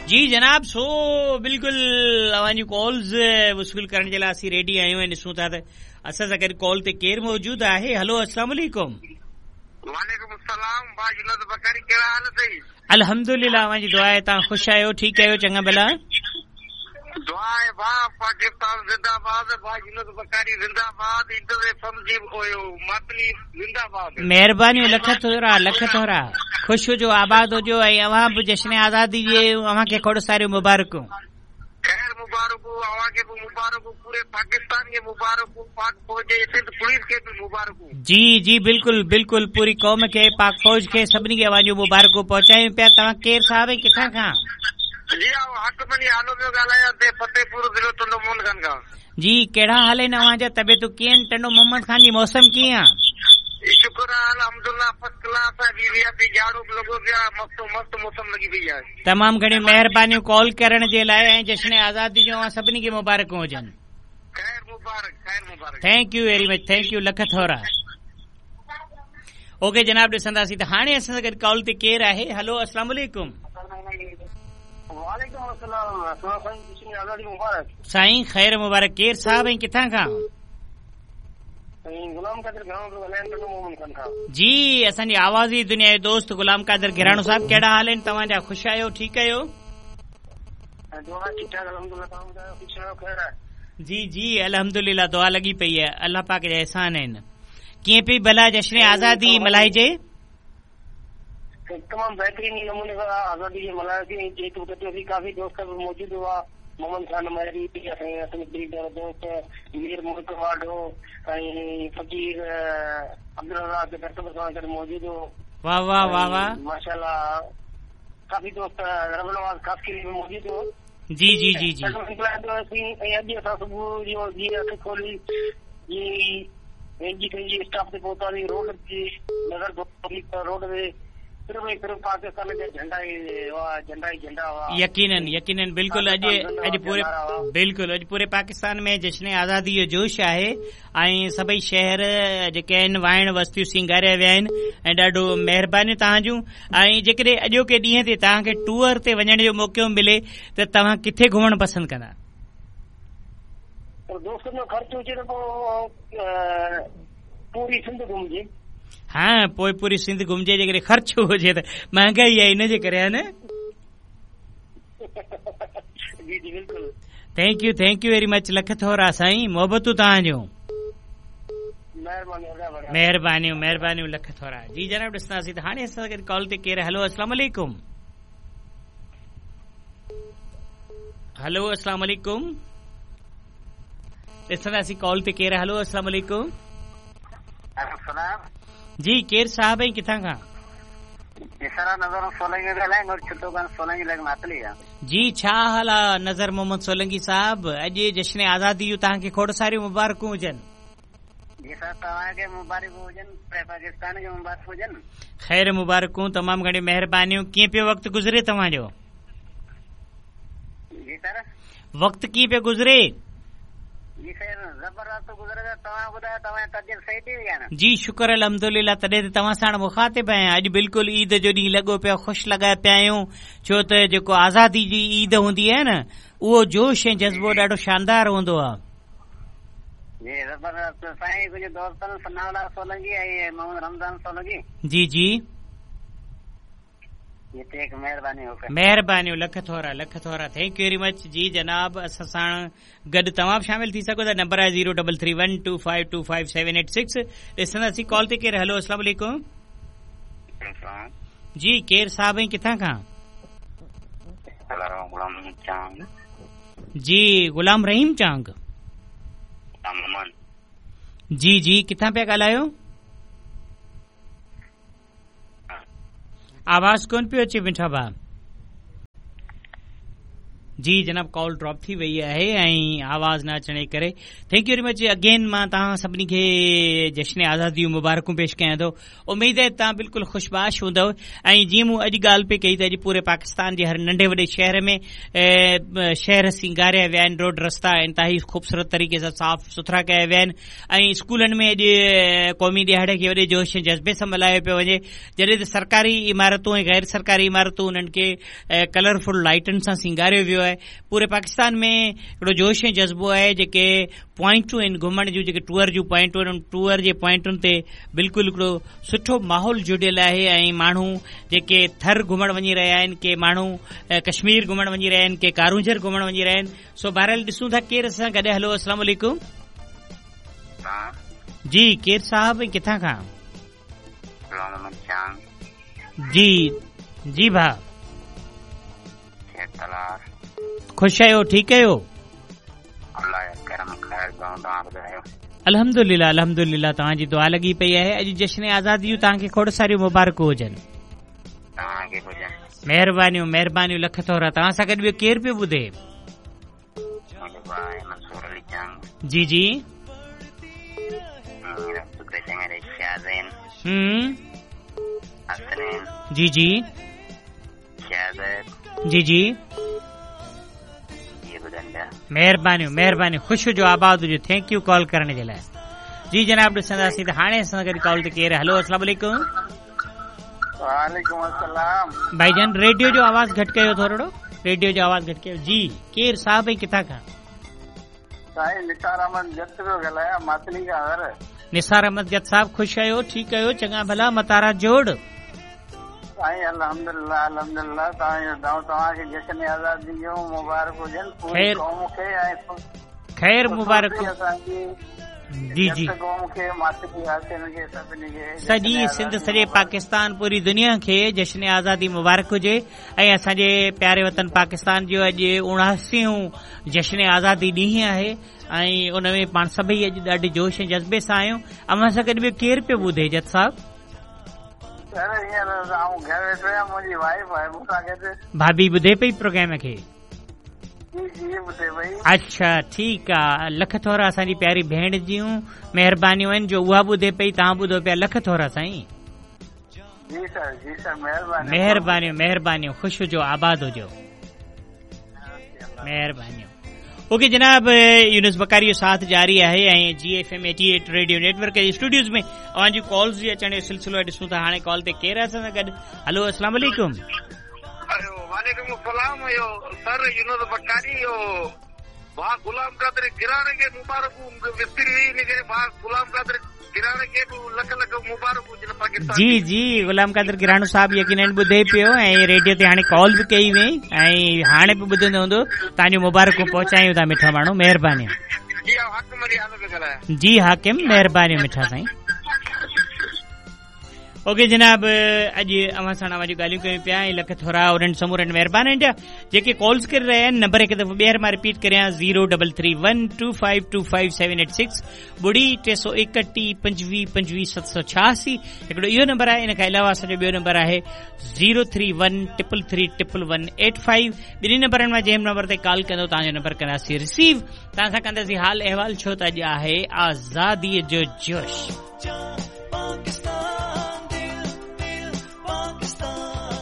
جي جناب سو بلڪل اوهان جون ڪالز وصول ڪرڻ جي لاء اسين ريڊي آهيون ۽ ڏسون ٿا ته اسان سان گڏ ڪال تي ڪير موجود آهي هلو السلام عليڪم. وعليڪم السلام ڀاء يونس بخاري ڪهڙا حال اٿئي. الحمدلله اوهان جي دعا آهي توهان خوش آهيو ٺيڪ آهيو چڱا ڀلا. دعا آهي ڀاء پاڪستان زنده باد ڀاء يونس بخاري زنده باد انٽر ايف ايم جي ماتلي زنده باد. مهربانيون لک ٿورا لک ٿورا خوش هجو آباد هجو ۽ اوهان به جشن آزادي جي اوهان کي کوڙ ساريون مبارڪون. خير مبارڪون اوهان کي به مبارڪون پوري پاڪستان کي مبارڪون پاڪ فوج ۽ سنڌ پوليس کي به مبارڪون. جي جي بلڪل بلڪل پوري قوم کي پاڪ فوج کي سڀني کي اوهان جون مبارڪون پهچايون پيا توهان ڪير صاحب ۽ ڪٿان کان. جي آئون حاڪم علي هالو پيو ڳالهايان ديهه فتح پور ضلعو ٽنڊو محمد خان کان. جي ڪهڙا حال آهن اوهان جا طبيعتون ڪيئن آهن ٽنڊو محمد خان جي موسم ڪيئن آ. شڪر آ الحمدالله فرسٽ ڪلاس آ وي وي آء پي جاڙو به لڳو پيو آ مست مست موسم لڳي پئي آهي. تمام گهڻيون مهربانيون ڪال ڪرڻ جي لاء ۽ جشن آزادي جون اوهان سڀني کي مبارڪون هجن. خير مبارڪ خير مبارڪ. Thank you very much thank you lakh ٿورا. اوڪي جناب ڏسنداسين ته هاڻي اسان سان گڏ ڪال تي ڪير آهي هلو السلام عليڪم. وعليڪم السلام سائين جشن آزادي مبارڪ. سائين خير مبارڪ ڪير صاحب ۽ ڪٿان کان؟ سائين غلام قادر گهراڻو پيو ڳالهايان ٽنڊو محمد خان کان. جي اسان جي آوازي دنيا جو دوست غلام قادر گهراڻو صاحب ڪهڙا حال آهن توهان جا خوش آهيو ٺيڪ آهيو. دعا ٺيڪ ٺاڪ الحمدلله توهان ٻڌايو خوش آهيو خير آهي. جي جي الحمدلله دعا لڳي پئي آهي الله پاڪ جا احسان آهن ڪيئن پئي ڀلا جشن آزادي ملهائجي. تمام بهترين نموني سان آزادي کي ملهايوسين ۽ ڪيڪ به ڪٽيوسين ڪافي دوست به موجود هئا محمد خان مهري اسان جي اسلم پريت وارو دوست مير ملڪ واڍو ۽ فقير عبدالرزاق درس به اسان سان گڏ موجود هو واه واه واه واه ماشاء الله ڪافي دوست رب نواز خاصخيلي به موجود هو جي جي جي جي ڏاڍو انجواء ڪيوسين ۽ اڄ اسان صبح جو جيئن اک کولي جيئن ئي اين جي ٿري جي اسٽاپ تي پهتاسين روڊ تي نظر ڊوڙي ته روڊ تي صرف ۽ صرف پاڪستان جا جهنڊا ئي هئا جهنڊا ئي جهنڊا هئا. يقينن يقينن بلڪل اڄ اڄ پوري بلڪل اڄ پوري پاڪستان ۾ جشن آزادي جو جوش آهي ۽ سڀئي شهر جيڪي آهن واهڻ وستيون سينگاريا ويا آهن ۽ ڏاڍو مهربانيون توهان جون ۽ جيڪڏهن اڄوڪي ڏينهن تي توهان کي ٽوئر تي وڃڻ جو موقعو ملي ته توهان ڪٿي گهمڻ پسند ڪندا؟ پر دوستن جو خرچ هجي ته پوء پوري سنڌ گهمجي. ها پوء پوري سنڌ گهمجي جيڪڏهن خرچ هجي ته مهانگائي آهي ان جي ڪري ها نه. جي جي بلڪل. Thank you thank you very much lakh ٿورا سائين محبتون توهان جون. مهربانيون مهربانيون لک ٿورا جي جناب ڏسنداسين ته هاڻي اسان سان گڏ ڪال تي ڪير هلو السلام عليڪم هلو السلام عليڪم ڏسنداسين ڪال تي ڪير هلو السلام عليڪم السلام جي ڪير صاحب ۽ ڪٿان کان نظر سولنگي سولنگي لڳ ماتلي جي ڇا حال آ نظر محمد سولنگي صاحب اڄ جشن آزادي جون توهان کي کوڙ ساريون مبارڪون هجن. جي صاحب توهان کي مبارڪون هجن پوري پاڪستان کي مبارڪون هجن. خير مبارڪون تمام گهڻيون مهربانيون ڪيئن پيو وقت گذري توهان جو. جي سر. وقت ڪيئن پيو گذري. جي سر زبردست گذري پيو توهان ٻڌايو توهان جي طبيعت صحيح ٿي وئي آ نه. جي شڪر الحمدلله تڏهن ته توهان ساڻ مخاطب آهيان اڄ بلڪل عيد جو ڏينهن لڳو پيو خوش لڳا پيا آهيون ڇو ته جيڪو آزادي جي عيد هوندي آهي نه اهو جوش ۽ جذبو ڏاڍو شاندار هوندو آهي. جي زبردست سائين ڪجهه دوستن ثناء الله سولنگي ۽ محمد رمضان سولنگي. جي جي. مهرباني لک ٿورا لک ٿورا thank you very much جي جناب اسان ساڻ گڏ توهان به شامل ٿي سگهو ٿا نمبر آهي zero double three one two five two five seven eight six ڏسنداسين ڪال تي ڪير هلو السلام عليڪم جي ڪير صاحب ۽ ڪٿان کان جي غلام رحيم چانگ جي جي ڪٿان پيا ڳالهايو آواز ڪون پيو اچي مٺا ڀاء. جي جناب ڪال ڊراپ ٿي وئي آهي ۽ آواز نه اچڻ جي ڪري thank you very much again مان توهان سڀني کي جشن آزادي جون مبارڪون پيش ڪيان ٿو اميد آهي توهان بلڪل خوشباش هوندؤ ۽ جيئن مون اڄ ڳالهه پئي ڪئي ته اڄ پوري پاڪستان جي هر ننڍي وڏي شهر ۾ شهر سينگاريا ويا آهن روڊ رستا انتهائي خوبصورت طريقي سان صاف سٿرا ڪيا ويا آهن ۽ اسڪولن ۾ اڄ قومي ڏهاڙي کي وڏي جوش ۽ جذبي سان ملهايو پيو وڃي جڏهن ته سرڪاري عمارتون ۽ غير سرڪاري عمارتون انهن کي ڪلرفل لائٽن سان سينگاريو ويو آهي پوري پاڪستان ۾ هڪڙو جوش ۽ جذبو آهي جيڪي پوائنٽون آهن گهمڻ جون جيڪي ٽوئر جون پوائنٽون آهن ان ٽوئر جي پوائنٽن تي بلڪل هڪڙو سٺو ماحول جڙيل آهي ۽ ماڻهو جيڪي ٿر گهمڻ وڃي رهيا آهن ڪي ماڻهو ڪشمير گهمڻ وڃي رهيا آهن ڪي ڪارونجهر گهمڻ وڃي رهيا آهن سو بهرحال ڏسون ٿا ڪير اسان سان گڏ هلو السلام عليڪم جي ڪير صاحب ۽ ڪٿان کان جي جي ڀاء خوش آهيو ٺيڪ آهيو الحمدلله الحمدلله توهان جي دعا لڳي پئي آهي اڄ جشن آزادي جون توهان کي کوڙ ساريون مبارڪون هجن مهربانيون مهربانيون لک ٿورا توهان سان گڏ ٻيو ڪير پيو ٻڌي جي جي جي جي جي جي مهربانيون مهربانيون خوش هجو آباد هجو thank you call ڪرڻ جي لاء جي جناب ڏسنداسين ته هاڻي اسان سان گڏ ڪال تي ڪير هلو السلام عليڪم وعليڪم السلام ڀائي جان ريڊيو جو آواز گهٽ ڪيو ٿورڙو ريڊيو جو آواز گهٽ ڪيو جي ڪير صاحب ۽ ڪٿان کان سائين نثار احمد جت پيو ڳالهايان ماتلي کان سر نثار احمد جت صاحب خوش آهيو ٺيڪ آهيو چڱا ڀلا متارا جوڙ سائين الحمدلله الحمدلله توهان جو دعائون توهان کي جشن آزادي جون مبارڪ هجن پوري قوم کي ۽ خير مبارڪ جي جي قوم کي ماتلي واسين کي سڀني کي سڄي سنڌ سڄي پاڪستان پوري دنيا کي جشن آزادي مبارڪ هجي ۽ اسان جي پياري وطن پاڪستان جو اڄ 79 جشن آزادي ڏينهن آهي ۽ ان ۾ پاڻ سڀئي اڄ ڏاڍي جوش ۽ جذبي سان آهيون اوهان سان گڏ ٻيو ڪير پيو ٻڌي جت صاحب سر هينئر آئون گهر ويٺو آهيان منهنجي وائيف آهي مون سان گڏ ڀاڀي ٻڌي پئي پروگرام کي جي جي ٻڌي پئي اڇا ٺيڪ آ لک ٿورا اسان جي پياري ڀيڻ جون مهربانيون آهن جو اها ٻڌي پئي توهان ٻڌو پيا لک ٿورا سائين جي سر جي سر مهرباني مهربانيون مهربانيون خوش هجو آباد هجو مهربانيون اوڪي جناب يونس بڪاري جو ساٿ جاري آهي ۽ جي F M 88 radio net work جي اسٽوڊيوز ۾ اوهان جي ڪالز جي اچڻ جو سلسلو ڏسون ٿا هاڻي ڪال تي ڪير آهي اسان سان گڏ هلو السلام عليڪم وعليڪم السلام اهو سر يونس بڪاري اهو ڀاء غلام قادر گراڻي کي مبارڪون وسري وئي ان ڪري ڀاء غلام قادر گراڻي کي به لک لک مبارڪون هجن پاڪستان جي جي غلام قادر گراڻو صاحب يقينن ٻڌي پيو ۽ ريڊيو تي هاڻي ڪال به ڪئي وئي ۽ هاڻي به ٻڌندو هوندو توهان جون مبارڪون پهچايون ٿا مٺا ماڻهو مهربانيون جي حاڪم علي هالو پيو ڳالهايان جي حاڪم مهربانيون مٺا سائين اوڪي جناب اڄ اوهان سان اوهان جون ڳالهيون ڪيون پيا ۽ لک ٿورا انهن سمورن مهربانن جا جيڪي ڪالز ڪري رهيا آهن نمبر هڪ دفعو ٻيهر مان رپيٽ ڪريان 0331252578 ٻڙي 331 25 25 786 هڪڙو اهو نمبر آهي ان کان علاوه اسان جو ٻيو نمبر آهي 031 333 1185 ٻنهي نمبرن مان جنهن نمبر تي ڪال ڪندو توهان جو نمبر ڪنداسين رسيو توهان سان ڪنداسين حال احوال ڇو ته اڄ آهي آزادي جو جوش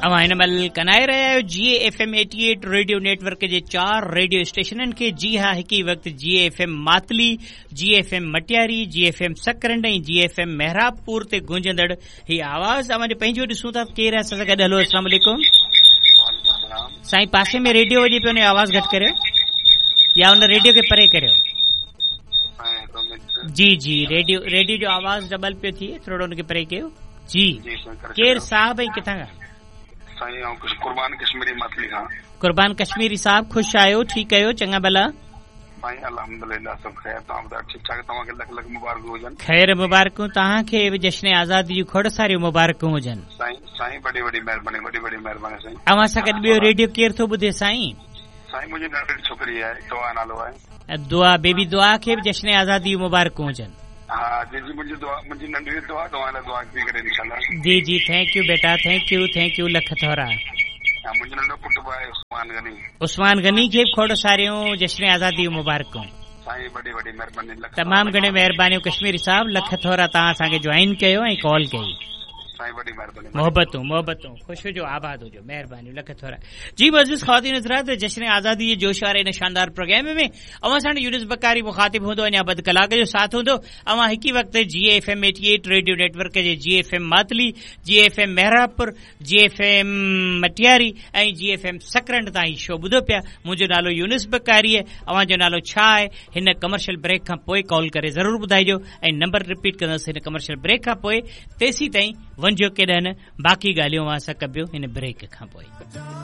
اوهان هن مهل ڪنائي رهيا آهيو جي F M 88 radio net work جي چار ريڊيو اسٽيشنن کي جي ها هڪ ئي وقت جي F M Matli G F M Matiari G F M Sakrand ۽ G F M Mehrabpur تي گونجندڙ هي آواز اوهان جو پنهنجو ڏسون ٿا ڪير آهي اسان سان گڏ هلو السلام عليڪم سائين پاسي ۾ ريڊيو وڄي پيو ان جو آواز گهٽ ڪريو يا ان ريڊيو کي پري ڪريو جي جي ريڊيو ريڊيو جو آواز ڊبل پيو ٿئي ٿورو ان کي پري ڪيو جي ڪير صاحب ۽ ڪٿان کان سائين آئون قربان ڪشميري ماتلي کان قربان ڪشميري صاحب خوش آهيو ٺيڪ آهيو چڱا ڀلا سائين الحمدلله سڀ خير توهان ٻڌايو ٺيڪ ٺاڪ توهان کي لک لک مبارڪون هجن. خير مبارڪون توهان کي به جشن آزادي جون کوڙ ساريون مبارڪون هجن. سائين سائين وڏي وڏي مهرباني وڏي وڏي مهرباني سائين. اوهان سان گڏ ٻيو ريڊيو ڪير ٿو ٻڌي سائين. سائين منهنجي ننڍڙي ڇوڪري آهي دعا نالو آهي. دعا بيبي دعا کي به جشن آزادي جون مبارڪون هجن. ها جي جي منهنجي دعا منهنجي ننڍڙي دعا توهان لاء دعا پئي ڪري انشاء الله. جي جي thank you beta thank you thank you lakh ٿورا. ها منهنجو ننڍو پٽ به آهي عثمان. عثمان غني. عثمان غني کي به کوڙ ساريون جشن آزادي جون مبارڪون. سائين وڏي وڏي مهرباني لک تمام گهڻيون مهربانيون ڪشميري صاحب لک ٿورا توهان اسان کي جوائن ڪيو ۽ ڪال ڪئي. سائين وڏي مهرباني. محبتون محبتون خوش هجو آباد هجو مهربانيون لک ٿورا جي معزز خواتين حضرات جشن آزادي جي جوش واري هن شاندار پروگرام ۾ اوهان ساڻ يونس بڪاري مخاطب هوندو اڃا اڌ ڪلاڪ جو ساٿ هوندو اوهان هڪ ئي وقت جي F M 88 radio network جي G F M Matli G F M Mehrabpur G F M Matiari ۽ G F M Sakrand تان هي شو ٻڌو پيا منهنجو نالو يونس بڪاري آهي اوهان جو نالو ڇا آهي هن ڪمرشل بريڪ کان پوء ڪال ڪري ضرور ٻڌائجو ۽ نمبر رپيٽ ڪندس هن ڪمرشل بريڪ کان پوء تيسين تائين وڃجو ڪيڏانهن نه باقي ڳالهيون اوهان سان ڪبيون هن بريڪ کان پوء.